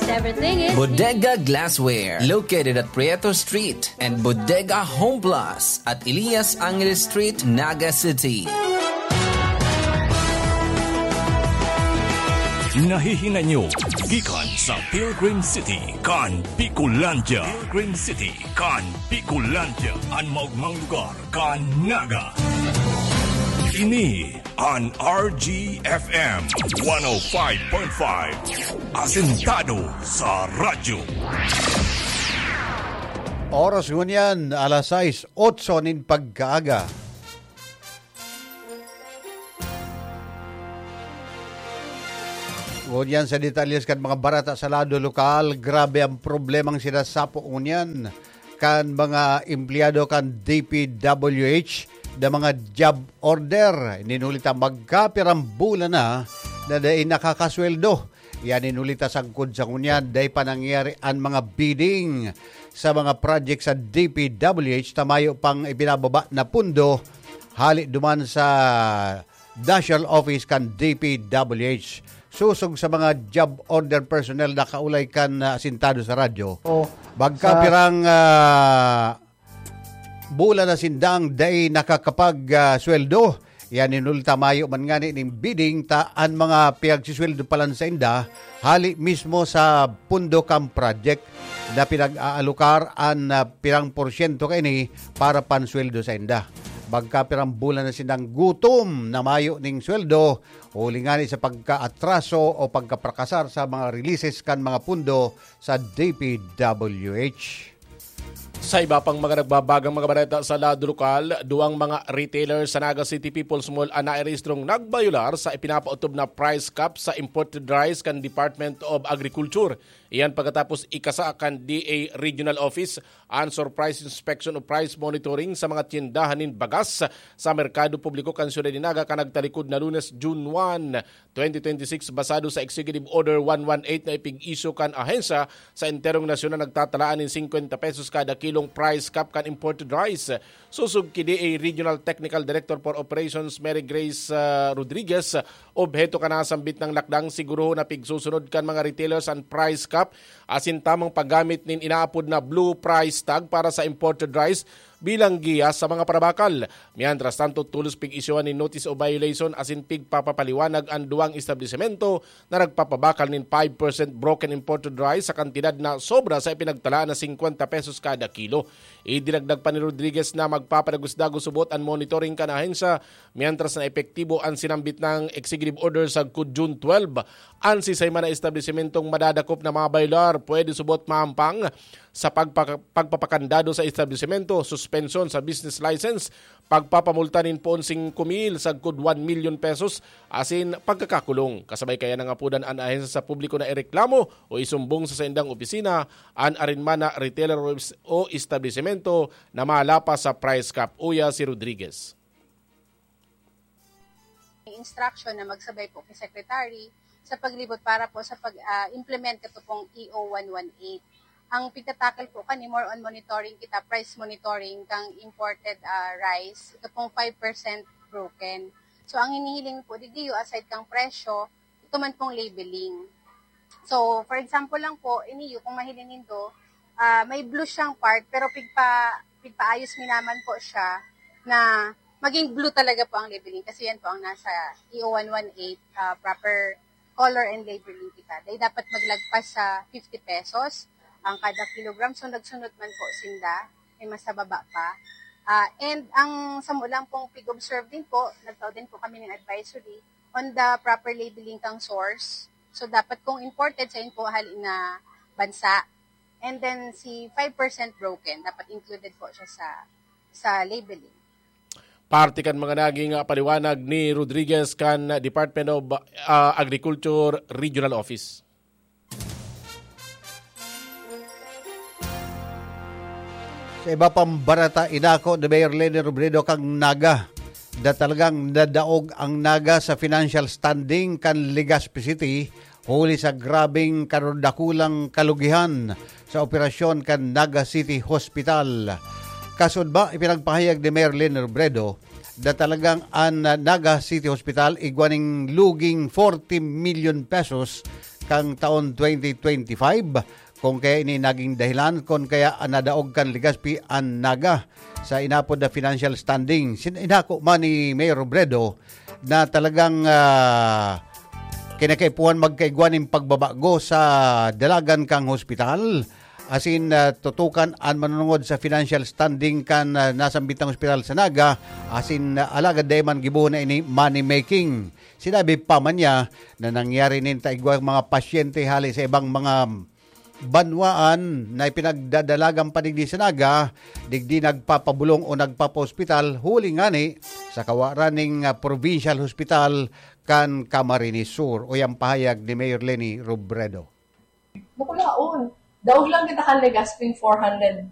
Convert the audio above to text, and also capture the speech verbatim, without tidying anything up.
Everything is Bodega Glassware, located at Prieto Street and Bodega Home Plus at Elias Angeles Street, Naga City. Nahihinay nyo gikan sa Pilgrim City kan Bicolandia. Pilgrim City kan Bicolandia, an maogmang lugar kan Naga. Ini an R G F M one oh five point five, asentado sa radyo. Oras ngunyan, alas sais, otso nin pagkaaga. Ngunyan sa detalyes kan mga bareta sa lado lokal, grabe ang problemang sinasapo ngunyan kan mga empleyado kan D P W H na mga job order. Ininuli ta magkapirang bulan na na dai nakakasweldo. Yan inuli ta sagkod sa ngunyan, dai pa nangyari an mga bidding sa mga project sa D P W H ta mayo pang ibinababa na pundo hali duman sa National Office kan D P W H. Sosog sa mga job order personnel na kaulay kan, ah, asintado sa radyo. Oh, magkapirang, ah, bulan na sindang dai nakakapag, ah, sweldo. Yan inuli ta mayo man ngani ning bidding ta an mga piyagsisweldo palan sa inda, hali mismo sa pundo kan project na pinag-aalokar an, ah, pirang porsyento kaini para pansweldo sa inda. Magkapirang bulan na sindang gutom na mayo ning sweldo, huli ngani sa pagkaatraso o pagkaprakasar sa mga releases kan mga pundo sa D P W H. Sa iba pang mga nagbabagang mga bareta sa lado lokal, duwang mga retailer sa Naga City People's Mall an nairehistrong nagbayular sa ipinapaotob na price cap sa imported rice kan Department of Agriculture. Iyan pagkatapos ikasa kan D A Regional Office an surprise inspection o price monitoring sa mga tiyendahan nin bagas sa merkado publiko kan siyudad nin Naga kan nagtalikod na Lunes, June one, twenty twenty-six, basado sa Executive Order one one eight na ipig-issue kan ahensya sa enterong nasyon na nagtatalaan nin singkwenta pesos kada kilong price cap kan imported rice. Sosog ki D A Regional Technical Director for Operations Mary Grace, ah, Rodriguez, obheto kan nasambit na lakdang sigurohon na pigsusunod kan mga retailers an price cap asin tamang paggamit nin inaapod na blue price tag para sa imported rice bilang giya sa mga parabakal. Mientras tanto, tolos pig-isyuhan nin notice of violation asin pigpapapaliwanag an duwang establisimento na nagpapabakal nin five percent broken imported rice sa kantidad na sobra sa ipinagtalaan na singkwenta pesos kada kilo. Idinagdag pa ni Rodriguez na magpapadagos-dagos subot an monitoring kan ahensya, mientras na epektibo an sinambit na executive order sagkod June twelve. An sisay man na establisimentong madadakop na mabayular pwede subot maampang sa pagpaka-, pagpapakandado sa establisimento, suspensyon sa business license, pagpapamulta nin poon singko mil sagkod one million pesos asin pagkakakulong. Kasabay kaya nangapodan an ahensya sa publiko na ireklamo o isumbong sa saindang opisina an arin man na retailer o es-, o establisimento na malapas sa price cap. Uya si Rodriguez. May instruction na magsabay po kay Secretary sa paglibot para po sa pag, ah, implement kato pong E O one one eight. Ang pigtatakal po kani, more on monitoring kita, price monitoring kang imported, ah, rice. Ito pong five percent broken. So, ang hinihiling po didiyo, aside kang presyo, ito man pong labeling. So, for example lang po, iniyo, kung mahiling nindo, ah, may blue siyang part, pero pigpa-, pigpaayos mi naman po siya na maging blue talaga po ang labeling kasi yan po ang nasa E O one one eight, ah, proper color and labeling kita. Dahil dapat maglagpas sa fifty pesos ang kada kilogram. So, nagsunod man po sinda, may mas nababa pa. Ah, and ang samo lang pong pig-observe din po, nagtao din po kami ng advisory on the proper labeling kang source. So, dapat kung imported, sa po hali na bansa. And then, si five percent broken, dapat included po siya sa, sa labeling. Parte kan mga naging, ah, paliwanag ni Rodriguez kan Department of, ah, Agriculture Regional Office. Sa iba pang bareta, inako ni Mayor Leni Robredo kan Naga na talagang nadaog ang Naga sa financial standing kan Legazpi City huli sa grabeng kadakulang kalugihan sa operasyon kan Naga City Hospital. Kasudma, ipinagpahayag ni Mayor Leni Robredo na talagang an Naga City Hospital igwa ning luging forty million pesos kang taon twenty twenty-five, kung kaya ini naging dahilan, kung kaya nadaog kan Legazpi an Naga sa inapod na financial standing. Sin-, inako man ni Mayor Robredo na talagang, ah, kinakaipuhan magkaigwa nin pagbabago sa dalagan kang hospital. Asin, ah, tutukan an manunungod sa financial standing kan, ah, nasambitang ospital sa Naga, asin, ah, alagad dai man gibohon na ini money making. Sinabi pa man niya na nangyari nin ta igwa mga pasyente hali sa ibang mga banwaan na ipinagdadalagan pa digdi sa Naga, digdi nagpapabulong o nagpapaospital, huli ngani sa kawaran ning, ah, provincial hospital kan Camarines Sur. O yang pahayag ni Mayor Leni Robredo. Bukulaon. Daog lang kita kan Legazpi four hundred